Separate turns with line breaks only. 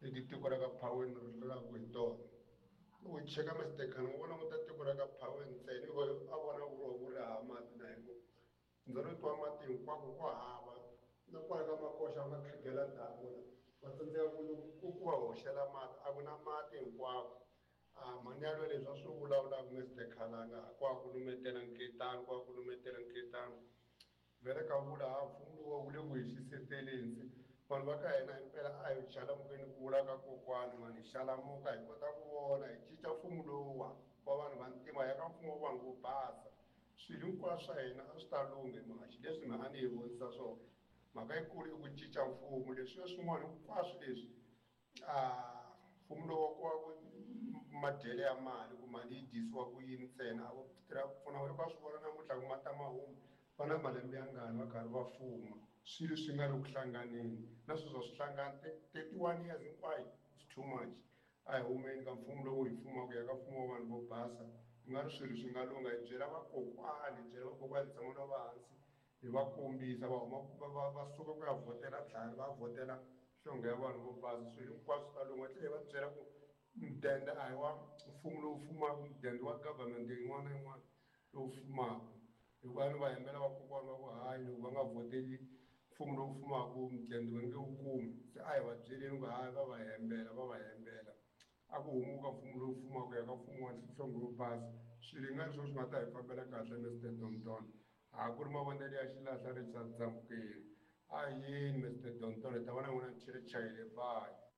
Leti tiko ra ka Phaweni ri rilaka hi tona. Loko hi cheka Mister Khan wo languta tiko ra ka Phaweni ntsena i a vona ku ri ku ri hava mati na hi ku ndzo ri twa mati hinkwako ku hava na kwala ka Makoxa va nga khegela damu la va tsandzeka ku ku ku va hoxela mati a ku na mati hinkwako. A mhani yalweyo leswi a swi vulavulaka Mister Khalanga ko va ku lumetela nketani ko va ku lumetela nketani. Vhele ka vula ha mfumo lowu wu le ku hi xiseteleni se vanhu va ka hina himpela a hi xalamukeni ku vula ka kokwani mani hi xalamuka hi kota ku vona hi cinca mfumo lowuwa wa vanhu va ntima hi ya ka mfumo wa vanhu vo basa swilo hinkwaswo swa hina a swi ta lungha hi mhaka xileswi mina a ni hi vonisa swona mhaka yikulu i ku cinca mfumo leswiya swin'wana hinkwaswo leswi A mfumo lowu ko va ku madyele ya mali ku mali yi dyisiwa ku yini ntsena a vo tirha ku pfuna va swi vona namuntlha ku mati a ma humi va na malembe ya ngani va karhi va fuma swilo swi nga le ku hlanganeni na sweswi a swi hlangani 31 years hinkwayo is too much a hi humeni ka mfumo lowu hi fumaka hi ya ka mfumo wa vanhu vo basa ku nga ri swilo swi nga lungha hi byela vakokwani hi byela vakokwani hi tshama na va hansi hi va kombisa va huma va va va suka ku ya vhotela tlhari va vhotela nhlonge ya vanhu vo basa swilo hinkwaswo swi ta lungha tlhela hi va byela ku mudende a hi wa mfumo lowu fumaka mudende wa government yin'wana na yin'wana lowu fumaka hikuva ni va hembela vakokwana va ku hayi loko va nga vhoteli mfumo lowu fumaka mudende va nge wu kumi se a hi va byeleni ku hayi va va hembela va va hembela a ku humuka mfumo lowu fumaka ku ya ka mfumo wa nhlonge yo basa swilo hi nga ri swona swi nga ta hi fambela kahle Mister Donton A ku ri mavonelo ya xilahla Richard Dzamukeli. A yini Mister Donton hi ta va na n'wina ni chele chayile bye.